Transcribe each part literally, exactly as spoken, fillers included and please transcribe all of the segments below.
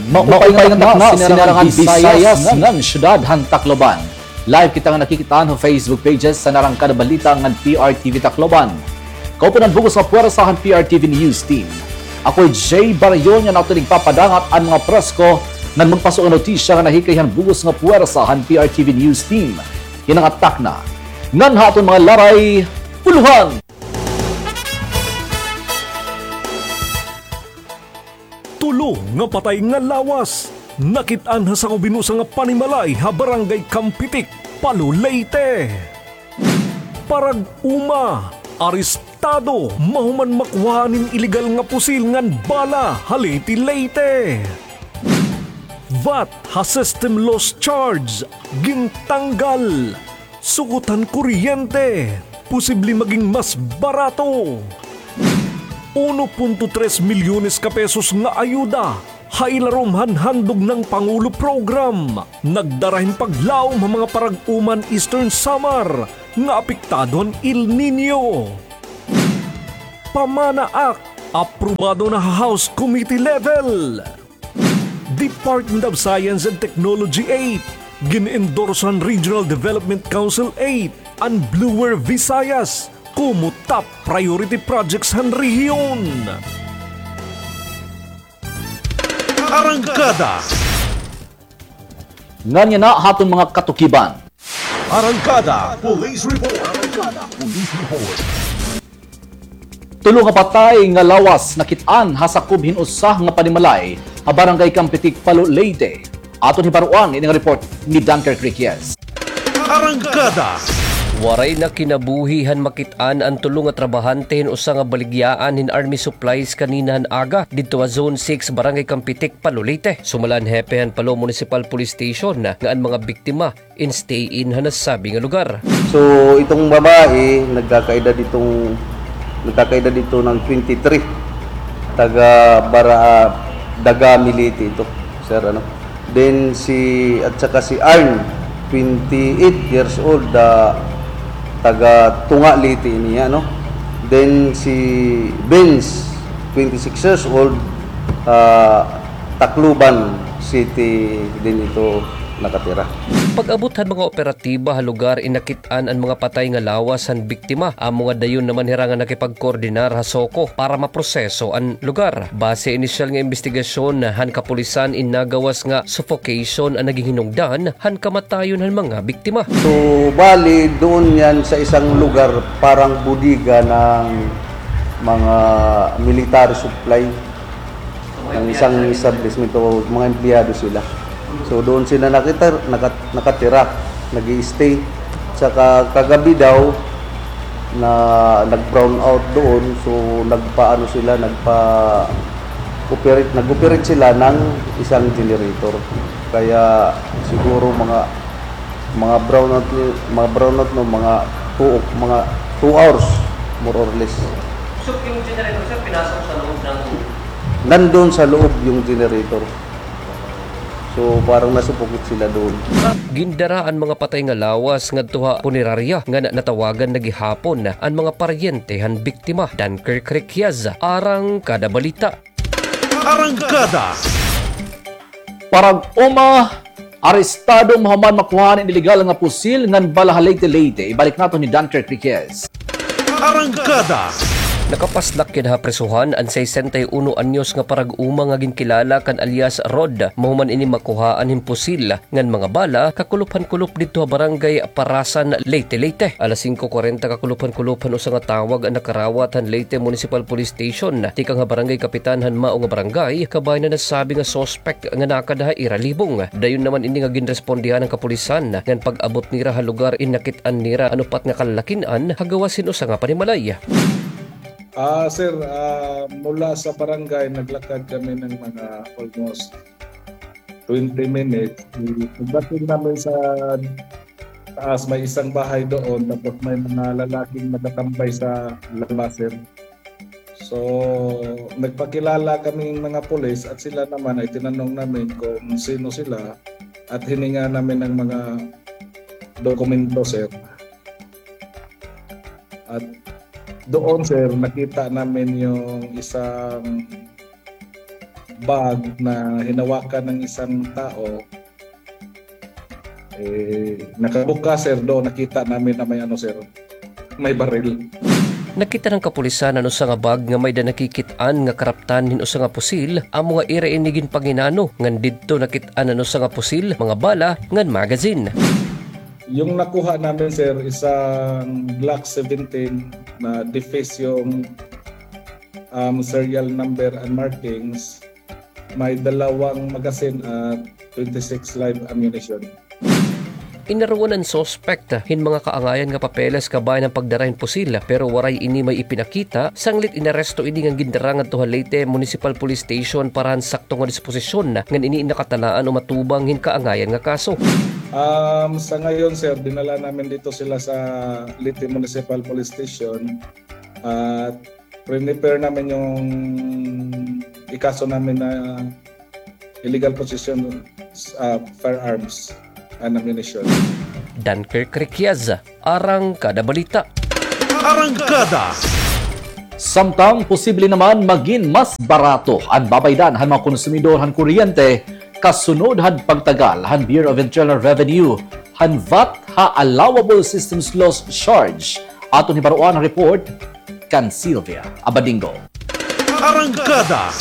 Maupay nga takna, sinarangan Bisayas ngan syudad han Tacloban. Live kita nga nakikit-an ha Facebook pages han Arangkada Balita ngan P R T V Tacloban. Kauban han bug-os nga puwersa han P R T V News Team. Ako hi Jay Barayon nga aton igpapadangat an mga presko ngan magpaso nga notisya nga nahikay han bug-os nga puwersa han P R T V News Team. Yana nga takna ngan ha aton mga laray, puluhan. Tulo nga patay nga lawas nakit-an ha sakob hin usa nga panimalay ha Barangay Campetic, Palo, Leyte. Parag-uma, arestado mahuman makuhaan hin iligal nga pusil ngan bala ha Leyte, Leyte. Vat ha system loss charge gintanggal. Sugot han kuryente, posible maging mas barato. Uno punto tres milyones ka pesos nga ayuda ha ilarom han Handog ng Pangulo Program nagdara hin paglaom ha mga parag-uma han Eastern Samar nga apektado han El Niño. PAMANA Act, aprobado na ha House Committee level. Department of Science and Technology eight, gin-endorse han Regional Development Council eight an Bluer Visayas komo top priority projects han rehiyon. Arangkada. Ngan yana ha aton mga katukiban. Arangkada Police Report. Arangkada Police Report. Tulo nga patay nga lawas nakit-an ha sakob hin usa nga panimalay ha Barangay Campetic, Palo, Leyte. Aton hibaroan ini nga report ni Dunker Criquias. Arangkada. Waray na kinabuhi han makit-an an tulo nga trabahante hin usa nga baligyaan hin army supplies kanina han aga didto ha Zone six, Barangay Campetic, Palo, Leyte. Sumala han hepe han Palo Municipal Police Station nga an mga biktima in stay-in ha nasabi nga lugar. So, itong babae, nagkakaedad itong, nagkakaedad ito ng twenty-three. Taga Bara-, Dagami, Leyte ito, sir, ano. Then si, at saka si Arn, twenty-eight years old, ah, taga Tunga, Leyte niya, no. Then si Vince, twenty-six years old, ah, Tacloban City din ito nakatira. Pag-abot han mga operatiba ha lugar, inakit-an an mga patay nga lawas han biktima. Amo nga dayon naman hira nga nakipagkoordinar ha SOCO para maproseso an lugar. Base inisyal nga imbestigasyon han kapulisan, in nagawas nga suffocation an naging hinungdan han kamatayon han mga biktima. So, bali, doon yan sa isang lugar, parang bodega ng mga military supply. Ng isang establishment o mga empleyado sila. So, doon sila nakita-, nakat-, nakatira, nag-i-stay. Tsaka kagabi daw na nag-brown out doon, so nagpaano sila, nagpa-operate, nag-operate sila ng isang generator. Kaya siguro mga, mga brown out, mga brown out, no, mga two, mga two hours, more or less. So, yung generator, sir, pinasok sa loob ng... Nandun sa loob yung generator. So, parang nasupukot sila doon. Gindara an mga patay nga lawas ngadto ha punerarya ngan natawagan na gihapon an mga paryente han biktima. Dunker Criquias, Arangkada Balita. Arangkada. Parag-uma, arestado mahuman makuhaan an iligal nga pusil ngan bala ha Leyte, Leyte. Ibalik naton ni Dunker Criquias. Arangkada. Nakapaslak yana ha prisuhan an sesenta y uno anyos nga parag-uma nga ginkilala kan alias Rod, mahuman ini makuhaan hin pusil ngan mga bala, kakulop han kulop didto ha Barangay Parasan, Leyte, Leyte. Alas singko kwarenta kakulop han kulop han usa nga tawag an nakarawat han Leyte Municipal Police Station tikang ha barangay kapitan han mao nga barangay, kabahin han nasabi nga suspek nga nakada ha ira libong. Dayon naman ini nga ginrespondihan han kapulisan, ngan pag-abot nira ha lugar, inakit-an nira an upat nga kalalakin-an ha gawas hin usa nga panimalay. Ah, sir, ah, mula sa barangay, naglakad kami ng mga almost twenty minutes. Pagdating namin sa taas, may isang bahay doon, tapos may mga lalaking natatambay sa labas, sir. So, nagpakilala kaming mga pulis at sila naman ay tinanong namin kung sino sila at hininga namin ng mga dokumento, sir. At doon, sir, nakita namin yung isang bag na hinawakan ng isang tao, eh, nakabuka, sir, doon nakita namin na may ano, sir, may baril. Nakita han kapulisan an usa nga bag nga may-ada nakikit-an nga karaptan hin usa nga pusil, amo nga ira ini ginpanginano ngan didto nakit-an an usa nga pusil, mga bala, ngan magazine. Yung nakuha namin, sir, isang Glock seventeen na deface yung, um, serial number and markings. May dalawang magazine at twenty-six live ammunition. Inaruan an suspect hin mga kaangayan nga papeles kabahin an pagdara hin pusil, pero waray ini may ipinakita, sanglit inaresto ini ngan gindara ngadto ha Leyte Municipal Police Station para han sakto nga disposisyon, ngan ini nakatalaan o matubang hin kaangayan nga kaso. Um, sa ngayon, sir, dinala namin dito sila sa Leyte Municipal Police Station at prepare namin yung ikaso namin na illegal possession of firearms and ammunition. Dunkirk Riquiaz, Arangkada Balita. Arangkada. Samtang posible naman magin mas barato an babaydan han mga konsumidor han kuryente kasunod han pagtagal han Bureau of Internal Revenue han vat ha allowable systems loss charge. Aton hibaroan an report kan Sylvia Abadingo. Arangkada.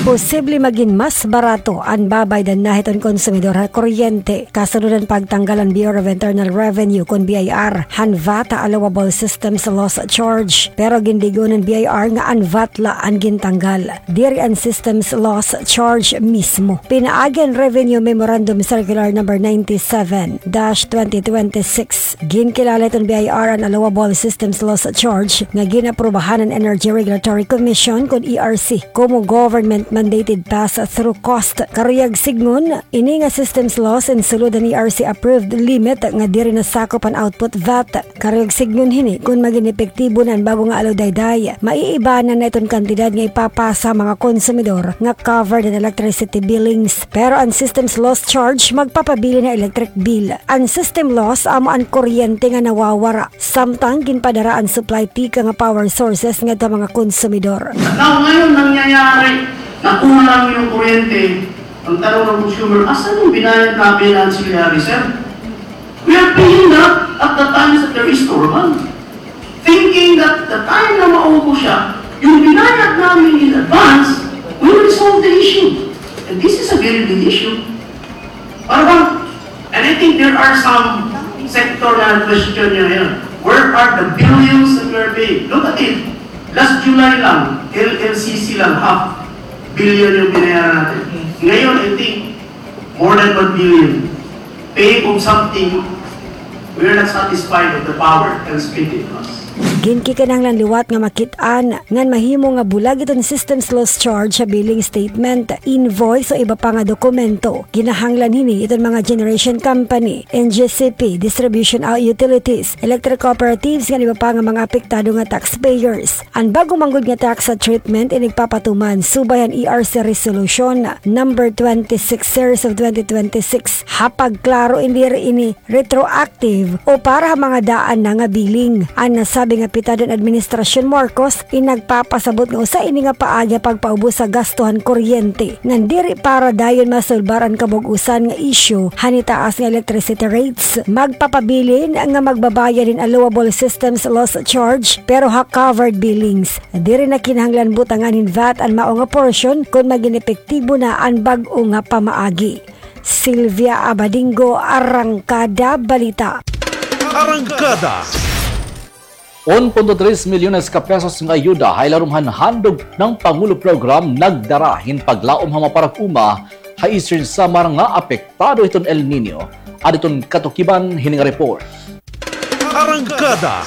Posible magin mas barato an babaydan na hiton konsumidor ha kuryente kasunod han pagtanggal han Bureau of Internal Revenue kon B I R han vat ha allowable systems loss charge. Pero gindig-on han B I R nga an vat la an gintanggal, diri an systems loss charge mismo. Pinaagi han Revenue Memorandum Circular Number ninety-seven dash twenty twenty-six, ginkilala hiton B I R an allowable systems loss charge nga gin-aprubahan han Energy Regulatory Commission kon E R C komo government mandated pass-through cost. Karuyag sidngon, ini nga systems loss in sulod han E R C approved limit nga diri nasakop han output vat. Karuyag sidngon hini kon magin epektibo na an bag-o nga aludayday, maiibanan na iton kantidad nga ipapasa ha mga konsumidor nga covered han electricity billings. Pero an systems loss charge magpapabilin ha electric bill. An system loss amo an kuryente nga nawawara samtang ginpadara an supply tikang ha power sources ngadto ha mga konsumidor. Now, ngayon nangyayari, nakuha namin yung kuryente. Ang tanong ng consumer, "Asan yung binayad namin na ancillary, sir?" We are paying that at the times that there is normal. Thinking that the time na maubos siya, yung binayad namin in advance will resolve the issue. And this is a very big issue. Para bang, and I think there are some sector na question niya ngayon, where are the billions that we are paying? Look at it. Last July lang, L L C C lang, half billion yung binayaran natin. Ngayon, I think, more than one billion. Paying of something, we are not satisfied of the power transmitted to us. Ginkikinahanglan liwat nga makit-an ngan mahimo nga bulag iton systems loss charge ha billing statement, invoice o iba pa nga dokumento. Kinahanglan hini iton mga generation company, N G C P, distribution, ah, utilities, electric cooperatives, ngan iba pa nga mga apektado nga taxpayers. An bag-o man gud nga tax treatment inigpapatuman subay han E R C Resolution Number twenty-six Series of twenty twenty-six. Ha pagklaro, diri ini retroactive o para ha mga daan na nga billing. An nasabi nga pitad han Administrasyon Marcos in nagpapasabot nga usa ini nga paagi ha pagpaubos sa gasto han kuryente ngan diri para dayon masulbar an kabug-osan nga isyu han itaas nga electricity rates. Magpapabilin nga magbabayad hin allowable systems loss charge pero ha covered billings. Diri na kinahanglan butangan hin vat an mao nga portion kon magin epektibo na an bag-o nga pamaagi. Sylvia Abadingo, Arangkada Balita. Arangkada. Un punto tres milyones ka pesos nga ayuda ha ilarom han Handog ng Pangulo Program nagdara hin paglaom ha mga parag-uma ha Eastern Samar nga apektado hiton El Niño. Adi iton katukiban hini nga report. Arangkada.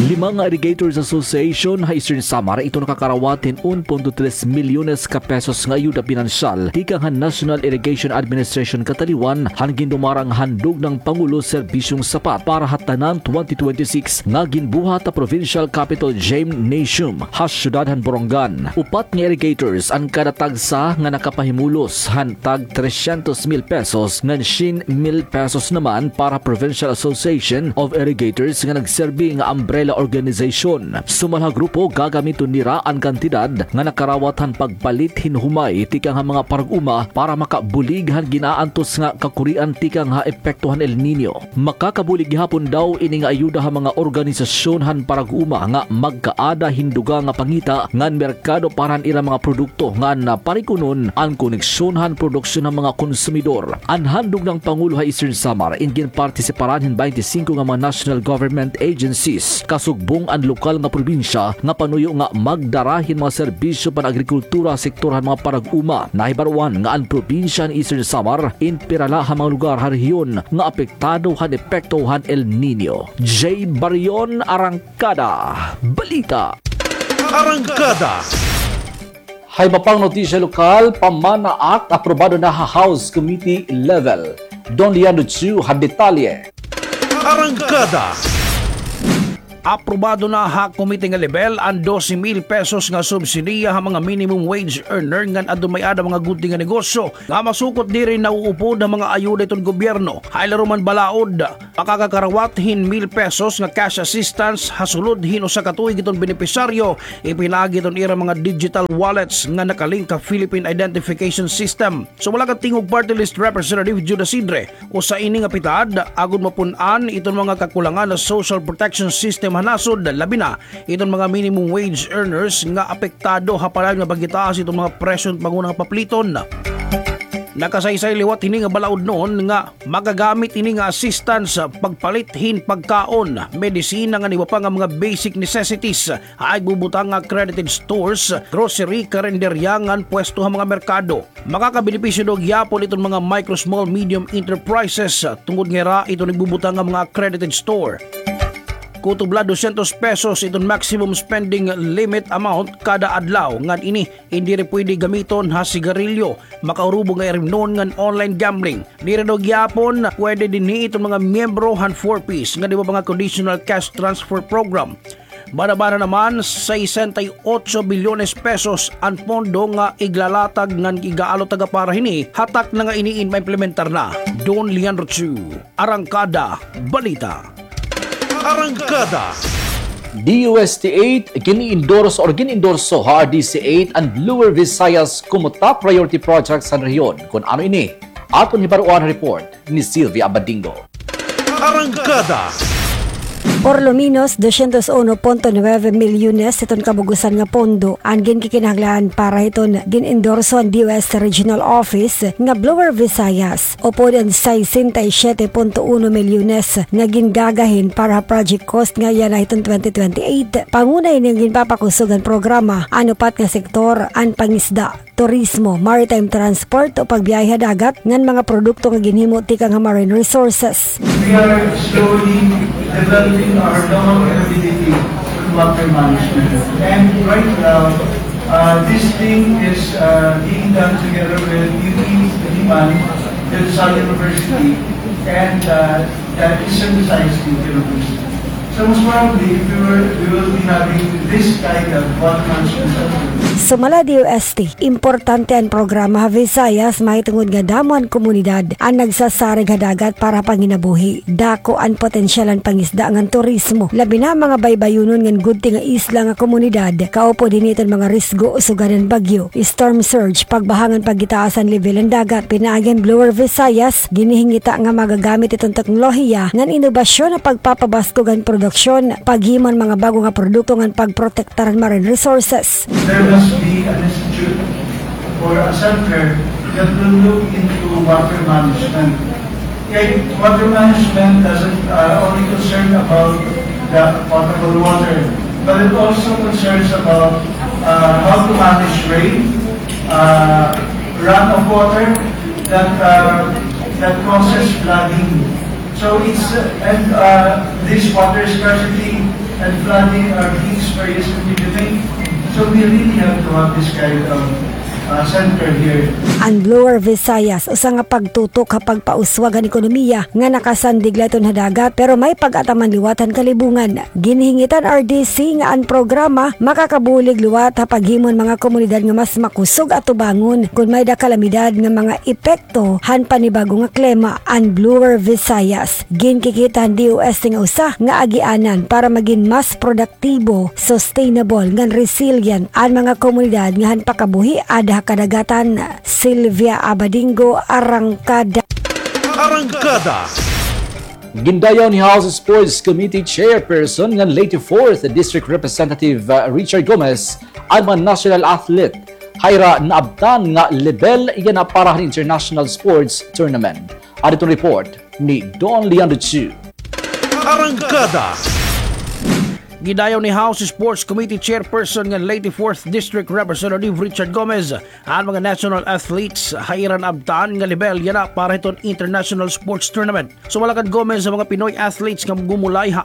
Lima nga Irrigators Association ha Eastern Samar iton nakakarawat hin un punto tres milyones ka pesos nga ayuda pinansyal tikang han National Irrigation Administration kataliwan han gindumarang Handog ng Pangulo Serbisyong Sapat para ha Tanan twenty twenty-six nga ginbuhat ha Provincial Capital Gymnasium ha siyudad han Borongan. Upat nga irrigators an kada tagsa nga nakapahimulos han tag tresyentos mil pesos ngan syen mil pesos naman para Provincial Association of Irrigators nga nagserbi nga umbrella Organization. Sumala ha grupo, gagamiton nira an kantidad nga nakarawat han pagpalit hin humay tikang ha mga parag-uma para makabulig han gin-aantos nga kakurian tikang ha epekto han El Niño. Makakabulig gihapon daw ini nga ayuda ha mga organisasyon han parag-uma nga magkaada hin dugang nga pangita ngan merkado para han ira mga produkto ngan parig-unon an koneksyon han produksyon han mga konsumidor. An handog han Pangulo ha Eastern Samar in ginpartisiparan hin baynte singko nga mga national government agencies. Kasugbong an lokal nga probinsya nga panuyo nga magdara hin mga serbisyo pan-agrikultura ha sektor han mga parag-uma. Nahibaroan nga an probinsya han Eastern Samar in pira la ha mga lugar ha rehiyon nga apektado han epekto han El Niño. Jay Barion, Arangkada Balita. Arangkada. Ha iba pang notisya lokal, PAMANA Act aprobado na ha House Committee level. Don Leandro Chu ha detalye. Arangkada. Aprobado na ha komite nga lebel an dose mil pesos nga subsidiya ha mga minimum wage earner ngan adto may-ada mga gudti nga negosyo nga masukot diri nauupod ha mga ayuda hiton gobyerno. Ha ilarom han balaod, makakakarawat hin mil pesos nga cash assistance ha sulod hin usa ka tuig hiton benepisyaryo, ipinaagi hiton ira mga digital wallets nga nakalink ha Philippine Identification System. Sumala kan Tingog Party List Representative Jude Asidre, usa ini nga pitad agod mapun-an iton mga kakulangan ha social protection system ha nasod, labi na iton mga minimum wage earners nga apektado ha padayon nga pagitaas iton mga presyo han panghunahunga nga papliton. Nakasaysay liwat hini nga balaod noon nga magagamit ini nga assistance pagpalit hin pagkaon, medisina ngan iba pa nga mga basic necessities ha igbubutang nga accredited stores, grocery, karinderya ngan pwesto ha mga merkado. Makakabenepisyo daw gihapon iton mga micro, small, medium enterprises tungod nga ira iton igbubutang nga mga accredited store. Kutob la dosyentos pesos iton maximum spending limit amount kada adlaw ngan ini in diri pwede gamiton ha sigarilyo, makaurubog nga irimnon ngan online gambling. Diri daw gihapon pwede dinhi iton mga miyembro han four Ps ngan iba pa nga conditional cash transfer program. Bada-bada naman, sesenta y ocho bilyones pesos an pondo nga iglalatag ngan igaalot taga para hini, hatak na nga ini in maimplementar na. Don Leandro Chu, Arangkada Balita. Arangkada. D U S T eight, gin-endorse or gin-endorso ha R D C eight an Blower Visayas komo top priority projects han rehiyon. Kon ano ini, aton hibaroan ha report ni Sylvia Abadingo. Arangkada. Por lo menos doscientos uno punto nueve milyones hiton kabug-osan nga pondo an ginkikinahanglan para hiton gin-endorso han D O S Regional Office nga Blower Visayas, upod an sesenta y siete punto uno milyones nga gingagahin para ha project cost nga yana hiton twenty twenty-eight. Panguna ini nga ginpapakusog han programa an upat nga sektor, an pangisda, turismo, maritime transport o pagbiyahe ha dagat ngan mga produkto nga ginhimo tikang ha marine resources. We are slowly developing our local ability with water management. And right now, uh, this thing is, uh, being done together with U P Diliman, the Rizal University, and, uh, the Eastern Visayas State University. So most probably, if we were, we will be having this kind of water management center. Sumala D O S T, importante an programa ha Visayas mahitungod nga damo an komunidad an nagsasarig ha dagat para panginabuhi. Dako an potensyal han pangisda ngan turismo, labi na mga baybayonon ngan gudti nga isla nga komunidad, kaupod hini iton mga risgo sugad han bagyo, storm surge, pagbaha ngan pagitaas han lebel han dagat. Pinaagi han Blower Visayas, ginhihingita nga magagamit iton teknolohiya ngan inobasyon ha pagpapabaskog han produksyon, paghimo han mga bag-o nga produkto ngan pagprotektar han marine resources. There must be an institute or a center that will look into water management. Kay water management doesn't, uh, only concern about the potable water, but it also concerns about, uh, how to manage rain, uh, run of water that, uh, that causes flooding. So it's, uh, and, uh, this water scarcity and flooding are being experienced in Pilipinas. So we really have to have this kind of, An Blower Visayas, usa nga pagtutok ha pagpauswag han ekonomiya nga nakasandig la iton ha dagat, pero may pag-ataman liwat han kalibungan. Ginhingit han R D C nga an programa makakabulig liwat ha paghimo han mga komunidad nga mas makusog atubangon kon may-ada kalamidad nga mga epekto han panibago nga klima. An Blower Visayas, ginkikita han D O S T nga usa nga agianan para magin mas product aktibo, sustainable, ngan resilient an mga komunidad nga han pakabuhi ada ha kadagatan. Sylvia Abadingo, Arangkada. Arangkada. Gindayaw ni House Sports Committee Chairperson ngan Leyte Fourth District Representative, uh, Richard Gomez an mga national athlete ha ira naabtan nga lebel yana para han international sports tournament. Adto an report ni Don Leandro Chu. Arangkada. Gidayaw ni House Sports Committee Chairperson ngan Leyte Fourth District Representative Richard Gomez an mga national athletes ha ira naabtan nga lebel yana para hiton international sports tournament. Sumala kan Gomez, an mga Pinoy athletes nga gumulay ha